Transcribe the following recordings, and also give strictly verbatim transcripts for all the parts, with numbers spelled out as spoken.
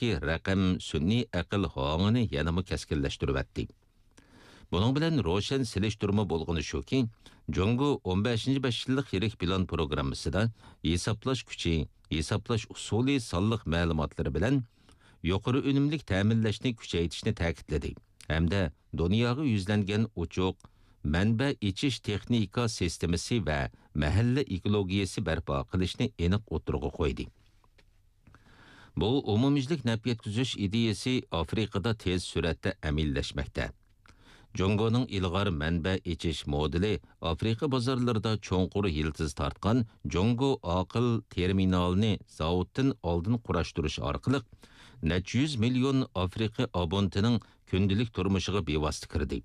ئىككى رەقەم سۈنئىي ئەقىل ھاڭىنى يەنىمۇ كەسكىنلەشتۈرۈۋەتتى. بۇنىڭ بىلەن روشەن سېلىشتۇرما بولغىنى شۇكى، جۇڭگو ئون بەشىنچى بەش يىللىق يىرىك پىلان پروگراممىسىدا ھېسابلاش كۈچى، ھېسابلاش ئۇسۇلى سانلىق مەلۇماتلىرى بىلەن يۇقىرى ئۈنۈملۈك تەمىنلەشنى كۈچەيتىشنى تەكىتلىدى ھەمدە دۇنياغا يۈزلەنگەن ئوچۇق مەنبە ئېچىش تېخنىكا سىستېمىسى ۋە مەھەللە ئېكولوگىيەسى بەرپا قىلىشنى ئېنىق ئوتتۇرىغا قويدى. بۇ ئومۇميۈزلۈك نەپ يەتكۈزۈش ئىدىيەسى ئافرىقىدا تېز سۈرئەتتە ئەمەلىيلەشمەكتە. جۇڭگونىڭ ئىلغار مەنبە ئېچىش مودېلى ئافرىقا بازارلىرىدا چوڭقۇر يىلتىز تارتقان جۇڭگو ئاقىل تېرمىنالىنى زاۋۇتتىن ئالدىن قۇراشتۇرۇش ئارقىلىق، نەچچە يۈز مىليون ئافرىقا ئابونتىنىڭ كۈندىلىك تۇرمۇشىغا بىۋاسىتە كىردى.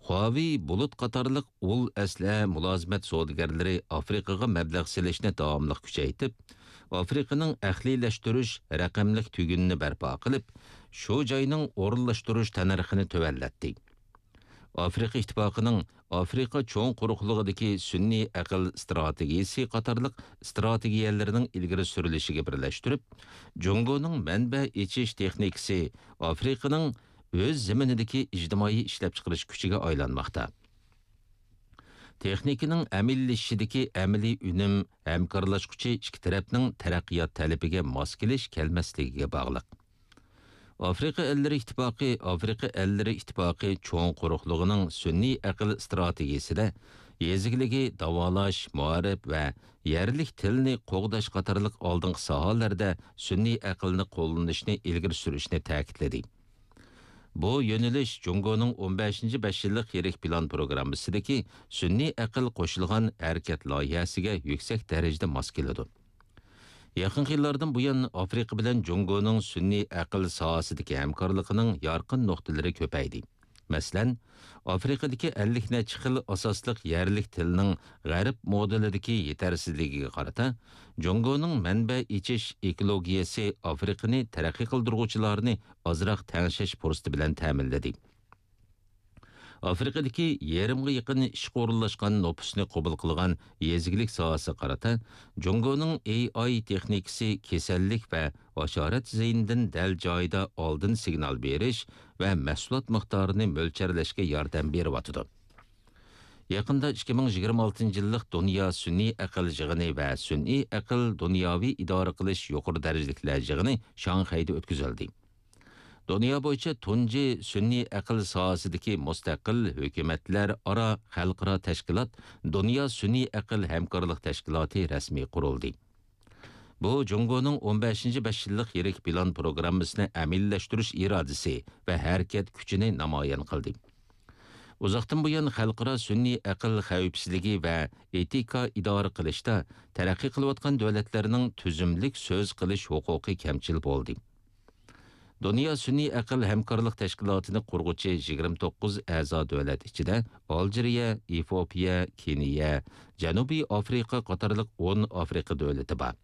خۇاۋېي بۇلۇت قاتارلىق ئۇل ئەسلىھە مۇلازىمەت سودىگەرلىرى ئافرىقىغا مەبلەغ سېلىشنى داۋاملىق كۈچەيتىپ، ئافرىقىنىڭ ئەقلىيلەشتۈرۈش رەقەملىك تۈگۈنىنى بەرپا قىلىپ، شۇ جاينىڭ ئورۇنلاشتۇرۇش تەننەرخىنى تۆۋەنلەتتى. ئافرىقا ئىتتىپاقىنىڭ ئافرىقا چوڭ قۇرۇقلۇقىدىكى سۈنئىي ئەقىل ئىستراتېگىيىسى قاتارلىق ئىستراتېگىيەلىرىنىڭ ئىلگىرى سۈرۈلۈشىگە بىرلەشتۈرۈپ، جۇڭگونىڭ مەنبە ئېچىش تېخنىكىسى ئافرىقىنىڭ ئۆز زېمىنىدىكى ئىجتىمائىي ئىشلەپچىقىرىش كۈچىگە ئايلانماقتا. تېخنىكىنىڭ ئەمەلىيلىشىشىدىكى ئەمەلىي ئۈنۈم ھەمكارلاشقۇچى ئىككى تەرەپنىڭ تەرەققىيات تەلىپىگە ماس كېلىش كەلمەسلىكىگە باغلىق. ئافرىقا ئەللىرى ئىتتىپاقى، ئافرىقا ئەللىرى ئىتتىپاقى چوڭ قۇرۇقلۇقىنىڭ سۈنئىي ئەقىل ئىستراتېگىيىسىدە يېزا ئىگىلىكى، داۋالاش، مائارىپ ۋە يەرلىك تىلنى قوغداش قاتارلىق ئالدىنقى ساھەلەردە سۈنئىي ئەقىلنى قوللىنىشنى ئىلگىرى سۈرۈشنى تەكىتلىدى. بۇ يۆنىلىش جۇڭگونىڭ ئون بەشىنچى بەش يىللىق يىرىك پىلان پروگراممىسىدىكى سۈنئىي ئەقىل قوشۇلغان ھەرىكەت لايىھەسىگە يۈكسەك دەرىجىدە ماس كېلىدۇ. يېقىنقى يىللاردىن بۇيان، ئافرىقا بىلەن جۇڭگونىڭ سۈنئىي ئەقىل ساھەسىدىكى ھەمكارلىقىنىڭ يارقىن نۇقتىلىرى كۆپەيدى. مەسىلەن، ئافرىقىدىكى ئەللىك نەچچە خىل ئاساسلىق يەرلىك تىلنىڭ غەرب مودېلىدىكى يېتەرسىزلىكىگە قارىتا، جۇڭگونىڭ مەنبە ئېچىش ئېكولوگىيەسى ئافرىقىنى تەرەققىي قىلدۇرغۇچىلارنى ئازراق تەڭشەش پۇرسىتى بىلەن تەمىنلىدى. ئافرىقىدىكى يېرىمغا يېقىن ئىشقا ئورۇنلاشقان نوپۇسنى قوبۇل قىلغان يېزا ئىگىلىك ساھەسىگە قارىتا، جۇڭگونىڭ ئېي ئاي تېخنىكىسى كېسەللىك ۋە ھاشارات زىيىنىدىن دەل جايىدا ئالدىن سىگنال بېرىش ۋە مەھسۇلات مىقدارىنى مۆلچەرلەشكە ياردەم بېرىۋاتىدۇ. يېقىندا ئىككى مىڭ يىگىرمە ئالتىنچى يىللىق دۇنيا سۈنئىي ئەقىل يىغىنى ۋە سۈنئىي ئەقىل دۇنياۋى ئىدارە قىلىش يۇقىرى دەرىجىلىكلەر يىغىنى شاڭخەيدە ئۆتكۈزۈلدى. دۇنيا بويىچە تۇنجى سۈنئىي ئەقىل ساھەسىدىكى مۇستەقىل ھۆكۈمەتلەر ئارا خەلقئارا تەشكىلات دۇنيا سۈنئىي ئەقىل ھەمكارلىق تەشكىلاتى رەسمىي قۇرۇلدى. بۇ جۇڭگونىڭ ئون بەشىنچى بەش يىللىق يىرىك پىلان پروگراممىسىنى ئەمەلىيلەشتۈرۈش ئىرادىسى ۋە ھەرىكەت كۈچىنى نامايان قىلدى. ئۇزاقتىن بۇيان خەلقئارا سۈنئىي ئەقىل خەۋپسىزلىكى ۋە ئېتىكا ئىدارە قىلىشتا تەرەققىي قىلىۋاتقان دۆلەتلەرنىڭ تۈزۈملۈك سۆز قىلىش ھوقۇقى كەمچىل بولدى. دۇنيا سۈنئىي ئەقىل ھەمكارلىق تەشكىلاتىنى قۇرغۇچى يىگىرمە توققۇز ئەزا دۆلەت ئىچىدە ئالجىرىيە، ئېفىئوپىيە، كېنىيە، جەنۇبىي ئافرىقا قاتارلىق ئون ئافرىقا دۆلىتى بار.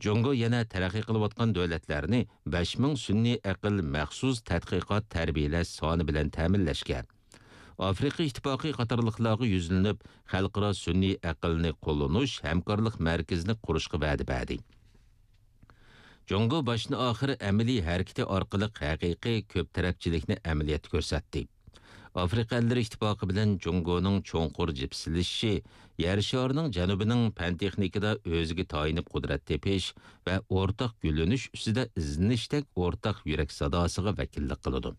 جۇڭگو يەنە تەرەققىي قىلىۋاتقان دۆلەتلەرنى بەش مىڭ سۈنئىي ئەقىل مەخسۇس تەتقىقات تەربىيەلەش سانى بىلەن تەمىنلەشكە، ئافرىقا ئىتتىپاقى قاتارلىقلارغا يۈزلىنىپ، خەلقئارا سۈنئىي ئەقىلنى قوللىنىش ھەمكارلىق مەركىزىنى قۇرۇشقا ۋەدە بەردى. جۇڭگو باشتىن ئاخىر ئەمەلىي ھەرىكىتى ئارقىلىق ھەقىقىي كۆپ تەرەپچىلىكنى ئەمەلىيەتتە كۆرسەتتى. ئافرىقا ئەللىرى ئىتتىپاقى بىلەن جۇڭگونىڭ چوڭقۇر جىپسىلىشىشى يەر شارىنىڭ جەنۇبىنىڭ پەن تېخنىكىدا ئۆزىگە تايىنىپ قۇدرەت تېپىش ۋە ئورتاق گۈللىنىش ئۈستىدە ئىزدىنىشتەك ئورتاق يۈرەك ساداسىغا ۋەكىللىك قىلىدۇ.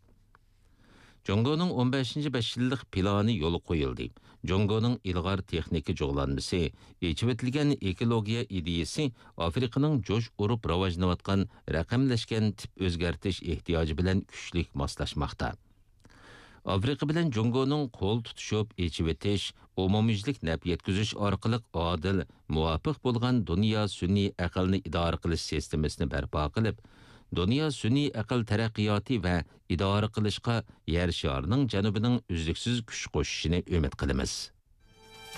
جۇڭگونىڭ ئون بەشىنچى بەش يىللىق پىلانى يولغا قويۇلدى. جۇڭگونىڭ ئىلغار تېخنىكا جۇغلانمىسى، ئېچىۋېتىلگەن ئېكولوگىيە ئىدىيىسى ئافرىقىنىڭ جۇش ئۇرۇپ راۋاجلىنىۋاتقان رەقەملەشكەن تىپ ئۆزگەرتىش ئېھتىياجى بىلەن كۈچلۈك ماسلاشماقتا. ئافرىقا بىلەن جۇڭگونىڭ قول تۇتۇشۇپ ئېچىۋېتىش، ئومۇميۈزلۈك نەپ يەتكۈزۈش ئارقىلىق ئادىل، مۇۋاپىق بولغان دۇنيا سۈنئىي ئەقىلنى ئىدارە قىلىش سىستېمىسىنى بەرپا قىلىپ، دۇنيا سۈنئىي ئەقىل تەرەققىياتى ۋە ئىدارە قىلىشقا يەر شارىنىڭ جەنۇبىنىڭ ئۈزلۈكسىز كۈچ قوشۇشىنى ئۈمىد قىلىمىز.